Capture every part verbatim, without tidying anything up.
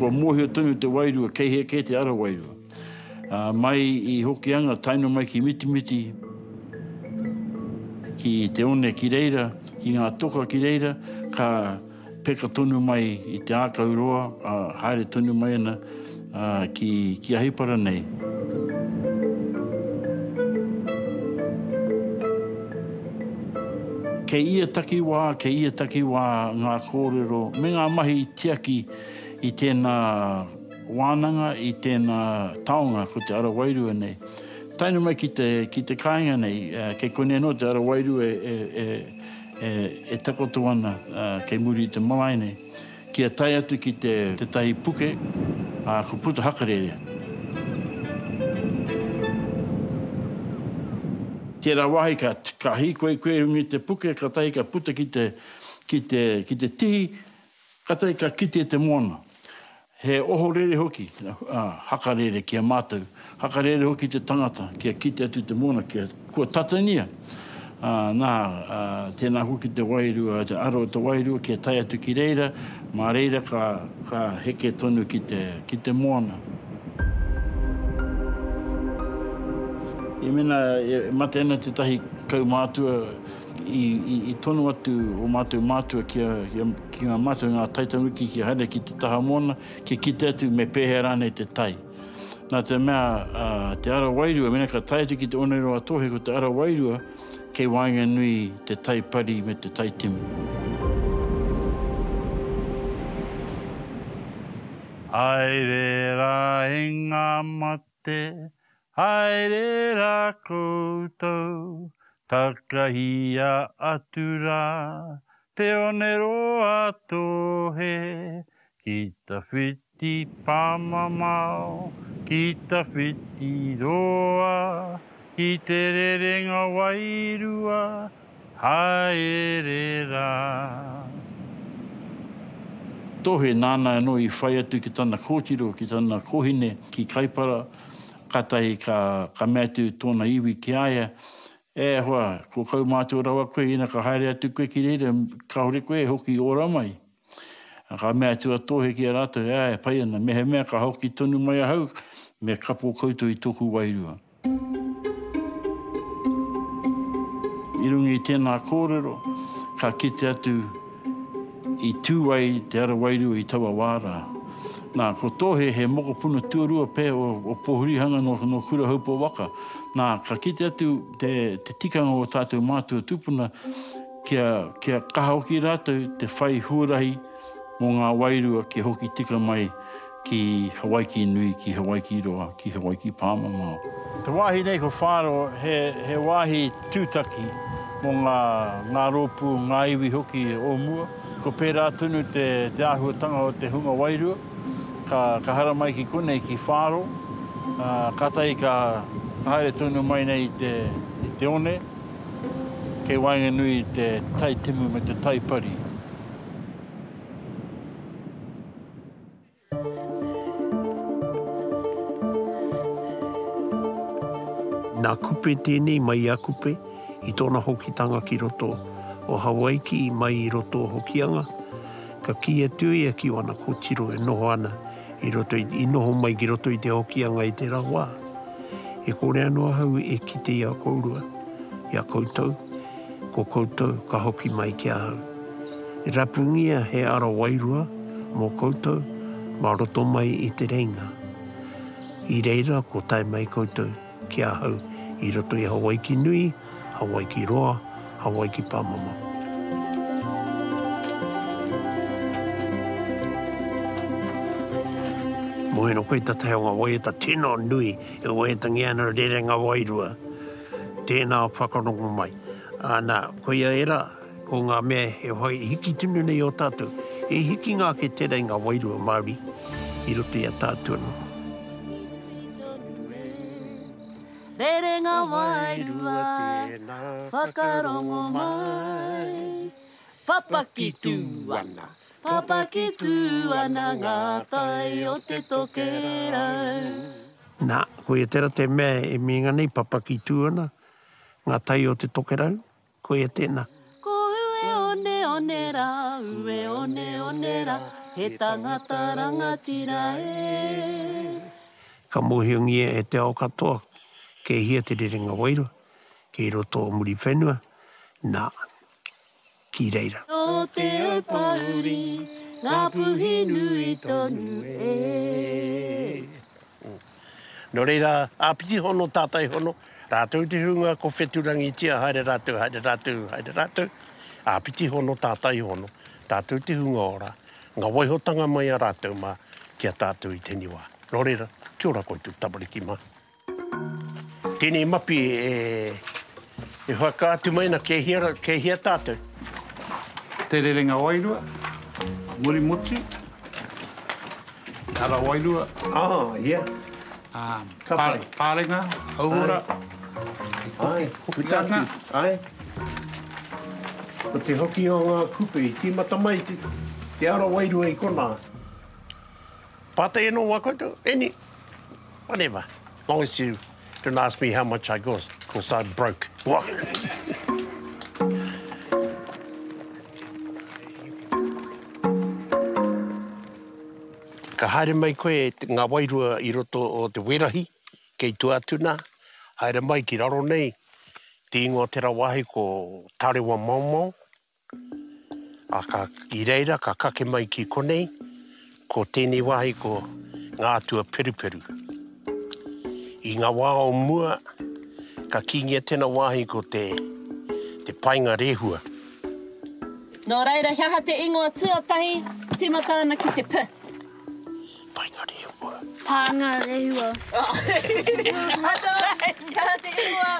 Kua mōhio tonu te wairua, kei hea kē te ara wairua. Uh, mai i Hokianga, tae noa mai ki Mitimiti, ki te one ki reira, ki ngā toka ki reira, ka peka tonu mai i te ākau roa, uh, haere tonu mai ana uh, ki, ki Ahipara nei. Kei ia takiwā, kei ia takiwā ngā kōrero me ngā mahi tiaki i tēnā wānanga, i tēnā taonga, ko te ara wairua nei. Tae noa mai ki te, ki te kāinga nei, kei konei anō te ara wairua e, e, e, e takoto ana kei muri i te marae nei. Kia tae atu ki te, tētahi puke, ā, ko puta hakarere. Tērā wāhi ka, ka hīkoi koe i runga i te puke, kātahi ka puta ki te, ki te, ki te tihi, kātahi ka kite te moana. He ohorere hoki, ā, hakarere ki a mātou. Hakarere hoki te tangata kia kite atu te moana, kia, kua tatania. Ā, nā, ā, tēnā hoki te wairua, te aro o te wairua kia tae atu ki reira, mā reira ka, ka heke tonu ki te, ki te moana. I mena e mate ana tētahi kaumātua, i, i, i tono atu o mātou mātua kia, kia, ki ngā mātua, ngā taitamariki kia haere ki te taha moana, kia kite atu me pēhea rānei te tai. Nā te mea, uh, te ara wairua, mena ka tae atu ki te Oneroa Tohe, ko te ara wairua kei waenganui te tai pari me te tai timu. Haere rā e ngā mate, haere rā koutou, takahia atu rā, te Oneroa Tohe, ki tawhiti pāmamao, ki tawhiti roa, ki te rerenga wairua, haere rā. Tohe nāna anō i whai atu ki tana kōtiro, ki tana kōhine, ki Kaipara, kātahi ka, ka mea atu tōna iwi ki a ia, E hoa, ko kaumātua rawa koe, ina ka haere atu koe ki reira, kāore koe e hoki ora mai. Ka mea atu a Tohe ki a rātou, āe, pai ana, mehemea ka hoki tonu mai ahau, me kapo koutou i tōku wairua. I runga i tēnā kōrero, ka kite atu i tū ai te ara wairua i taua wā rā. Nā, ko Tohe he mokopuna tuarua pea o, o Pōhurihanga nō, nō Kurahaupo waka. Nā, ka kite atu te, te tikanga o tātou mātua tūpuna kia, kia kaha hoki rātou te whai huarahi mō ngā wairua kia hoki tika mai ki Hawaiki nui, ki Hawaiki roa, ki Hawaiki pāmamao. Te wāhi nei ko Whāro, he, he wāhi tūtaki mō ngā, ngā rōpū, ngā iwi hoki o mua. Ko pērā tonu te, te āhuatanga o te hunga wairua, ka, ka haramai ki konei, ki Whāro, ā, kātahi ka, ka haere tonu mai nei i te, i te one, kei waenganui i te tai timu me te tai pari. Nā Kupe tēnei mai i a Kupe i tōna hokitanga ki roto o Hawaiki mai i roto o Hokianga, ka kī atu ia ki wana kōtiro e noho ana i roto i, i noho mai ki roto i te Hokianga i tērā wā. E kore anō ahau e kite i a kourua, i a koutou, ko koutou ka hoki mai ki ahau. Rapungia he ara wairua mō koutou mā roto mai i te reinga. I reira ko tae mai koutou ki ahau i roto i Hawaiki nui, Hawaiki roa, Hawaiki pāmamao. Moheno koe tatahi o nga waiata tino nui e waiatangia ana rerenga wairua. Tēnā whakarongo mai. Ana, koia era, ko ngā mea e whai hiki tonu nei o tātou. E hikinga ake tērā i ngā wairua Māori i roto i a tātou anō. Rerenga wairua, tēnā whakarongo mai. Papaki tū ana, papaki tū ana ngā tai o te tokerau. Nā, koia tērā te mea e mīnga nei, papaki tū ana ngā tai o te tokerau, koia tēnā. Ko Ueoneone one rā, ue one one rā, he tangata rangatira e. Ka mōhiongia e te ao katoa kei hea te rerenga wairua, kei roto o Muriwhenua, nā, ki reira. Nō Te Aupōuri, ngā puhi nui tonu e. Nō reira, āpiti hono, tātai hono, rātou te hunga ko whetūrangitia, haere rātou, haere rātou, haere rātou, āpiti hono, tātai hono, tātou te hunga ora, ngā waihotanga mai a rātou mā ki a tātou i tēnei wā. Nō reira, kia ora koutou tamariki mā. Tēnei mapi e, e whakaatu mai ana kei hea, kei hea tātou. Te rerenga wairua, Murimotu, Te Ara Wairua. Ah, yeah. Um, Ka pai. Pārenga, Hauora, Ai, Hokianga. puta atu. Ai. Ko te hoki o ngā kupe i tīmata mai te, te ara wairua i konā. Pātai anō wā koutou, any, whatever. Long as you don't ask me how much I cost, cause I'm broke. What? Ka haere mai koe ngā wairua i roto o te werahi, kei tua atu nā, haere mai ki raro nei, te ingoa tera wāhi ko Tarewa Maomao, a ka, i reira ka kake mai ki konei, ko tēnei wāhi ko ngā atua peruperu. I ngā wā o mua, ka kīngia tēnā wāhi ko te, te painga rehua. Nō reira, he aha te ingoa tuatahi, tīmata ana ki te P? Painga rehua. Pānga rehua. He aha te ingoa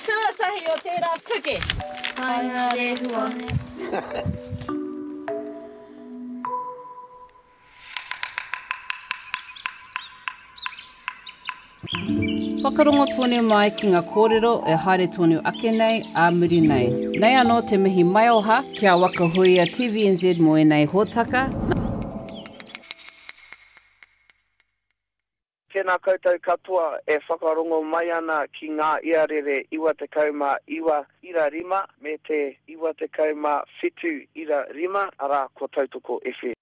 tuatahi o tērā puke? Painga rehua. Whakarongo tonu mai ki ngā kōrero e haere tonu ake nei, ā muri nei. Nei anō te mihi maioha kia Waka Huia T V N Z mō ēnei hōtaka. Tēnā koutou katoa e whakarongo mai ana ki ngā iarere iwa tekau mā iwa ira rima me te iwa tekau mā whitu ira rima, arā ko Tautoko F M.